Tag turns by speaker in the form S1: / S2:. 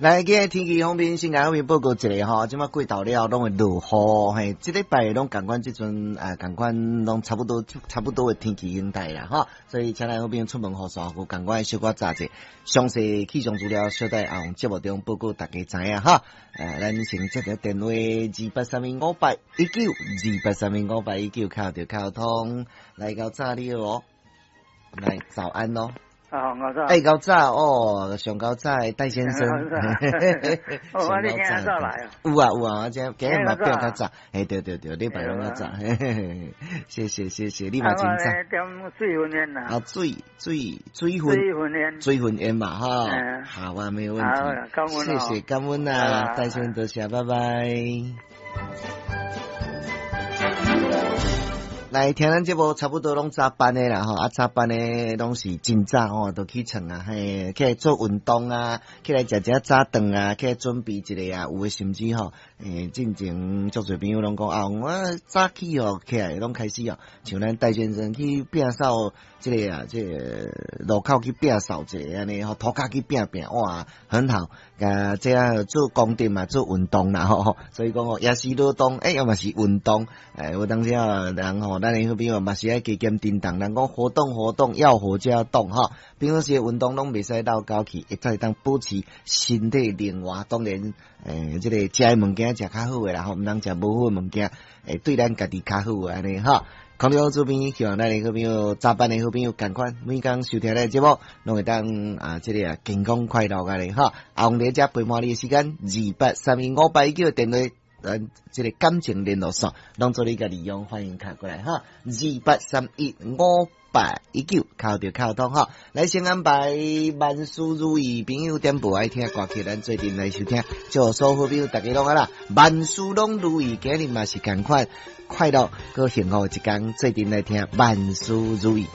S1: 來，今日天氣方面，先共各位報告一下吼，這馬過晝了，攏會落雨，嘿，這禮拜攏仝款，這陣啊，仝款攏差不多，差不多的天氣形態啦，吼，所以請咱好朋友出門予煞，有仝款小可早者，詳細氣象資料，小待後節目中報告大家知影哈。咱先接個電話28315819，28315819，敲著敲通，來夠早了哦，來早安咯。
S2: 啊，我早。
S1: 欸，夠早哦，上夠早的戴先生。
S2: 哦，你今日早來啊？
S1: 有啊有啊，我這今日嘛變較早。嘿，對對對，禮拜攏較早。嘿嘿嘿，謝謝謝謝，你嘛真早。
S2: 點水分煙啊？
S1: 啊，水水水分。
S2: 水分煙。
S1: 水分煙嘛，哈。好啊，沒有問題。
S2: 感恩。
S1: 謝謝感恩啊，戴先生多謝，拜拜。來聽咱節目差不多攏早班的啦吼，啊早班的攏是真早吼，就起床啊，嘿，起來做運動啊，起來食食早頓啊，起來準備一下啊，有的甚至吼，進前足濟朋友攏講啊，我早起哦，起來攏開始哦，像咱戴先生去摒掃這個啊，這個路口去摒掃一下按呢吼，塗跤去摒摒，哇，很好，啊，這啊做功德嘛，做運動啦吼，所以講哦，也是勞動，欸，嘛是運動，欸，有當時啊，人吼。咱的好朋友嘛是愛加減振動，人講活動活動要活就要動哈。平常時運動攏袂使鬥狗去，會才會當保持身體靈活。當然，這個食的物件食較好的啦，吼，毋通食無好的物件，會對咱家己較好按呢哈。空中這邊希望咱的好朋友早班的好朋友仝款，每工收聽咱的節目，攏會當啊，這個啊健康快樂按呢哈。阿王佇遮陪伴你的時間，28315819電話。咱這個感情聯絡線，攏做你共利用，歡迎敲過來哈，28315819，敲著敲通哈。來先安排萬事如意，朋友點播愛聽歌曲，咱做陣來收聽。祝所有好朋友大家攏好啦，萬事攏如意，今日嘛是仝款快樂閣幸福的一工，做陣來聽萬事如意。